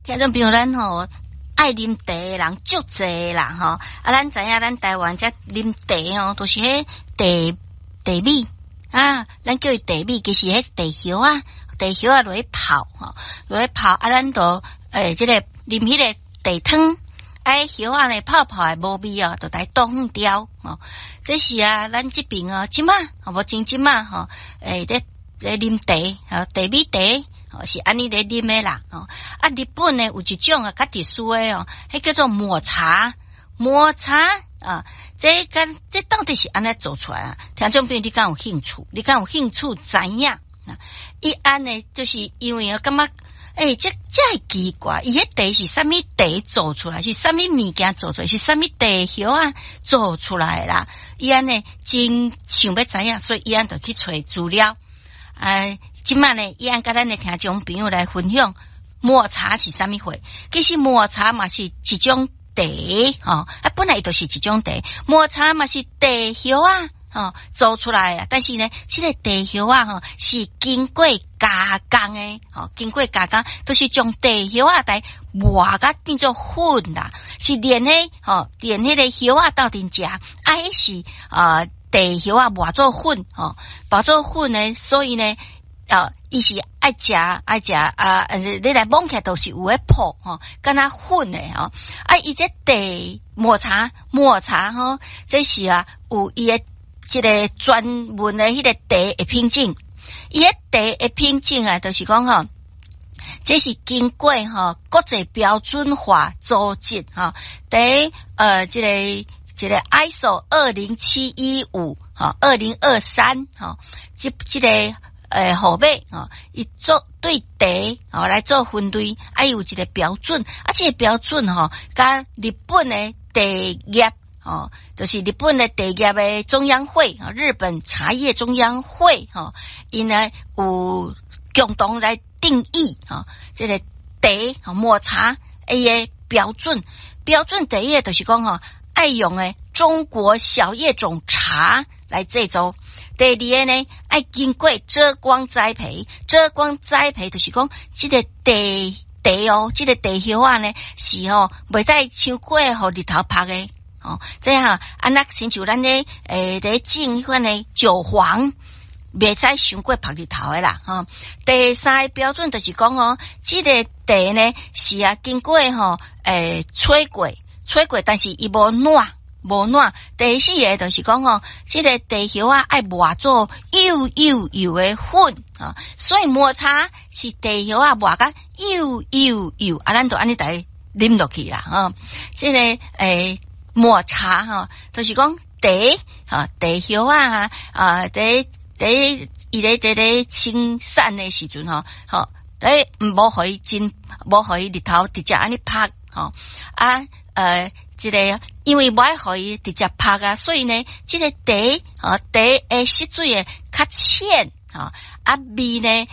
聽眾朋友，咱吼愛啉茶的人足濟啦吼，啊，咱知影咱台灣遮啉茶吼，都是彼茶茶米啊，咱叫伊茶米，其實彼茶葉仔，茶葉仔落去泡吼，落去泡啊，咱就這个啉彼个茶湯，啊，葉仔呢泡泡的無味哦，就來倒遠掉吼。這是啊，咱這爿哦，這馬無像這馬吼，咧啉茶，吼，茶米茶。哦，是按呢咧啉的啦，哦，啊，日本呢有一種啊較特殊的哦，彼叫做抹茶，抹茶啊，這敢這到底是按怎做出來啊？聽眾朋友，你敢有興趣？你敢有興趣知影？啊，伊按呢，就是因為我感覺，這這會奇怪，伊彼茶是啥物茶做出來？是啥物物件做出來？是啥物茶葉仔做出來的啦？伊按呢真想欲知影，所以伊按就去揣資料，哎。這馬呢，伊按佮咱的聽眾朋友來分享抹茶是啥物貨？其實抹茶嘛是一種茶，吼，啊，本來就是一種茶，抹茶嘛是茶葉仔，吼，做出來啊。但是呢，這个茶葉仔吼是經過加工的，吼，經過加工，都是將茶葉仔來磨甲變做粉啦，是連彼吼，連彼个葉仔鬥陣食，啊，彼是啊茶葉仔磨做粉，吼，磨做粉呢，所以呢。啊，伊是愛食愛食啊！你來摸起來都是有彼泡吼，敢若粉的吼。啊，伊這茶抹茶抹茶吼，這是啊有伊的這个專門的彼个茶的品種。伊彼茶的品種啊，就是講吼，這是經過吼國際標準化組織吼，佇這个 ISO 20715吼2023吼，這个號碼吼，伊做對茶吼來做分類，啊，伊有一个標準，啊，這个標準吼，佮日本的茶葉吼，就是日本的茶葉的中央會，日本茶葉中央會吼，𪜶呢有共同來定義吼，這个茶抹茶伊的標準，標準第一个就是講吼，愛用的中國小葉種茶來製作。第二个呢，愛經過遮光栽培，遮光栽培就是講，這个茶茶哦，這个茶葉仔呢是吼，袂使傷過予日頭曝的哦。這樣按呢親像咱咧佇種彼款的韭黃，袂使傷過曝日頭的啦吼。第三个標準就是講哦，這个茶呢是啊經過吼吹過，吹過，但是伊無軟。無軟。第四个就是講吼，這个茶葉仔愛磨做幼幼幼的粉啊，所以抹茶是茶葉仔磨甲幼幼幼，啊，咱就按呢來啉落去啦，吼。這个抹茶吼，就是講茶哈茶葉仔啊，佇伊咧這個生產的時陣吼，吼，無予伊真，無予伊日頭直接按呢曝吼，啊這个因為無愛予伊直接曝啊，所以呢，這个茶吼茶的色水會較淺吼，啊味呢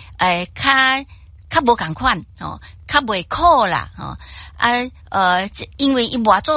較較無仝款吼，較袂苦啦吼，啊因為伊磨做。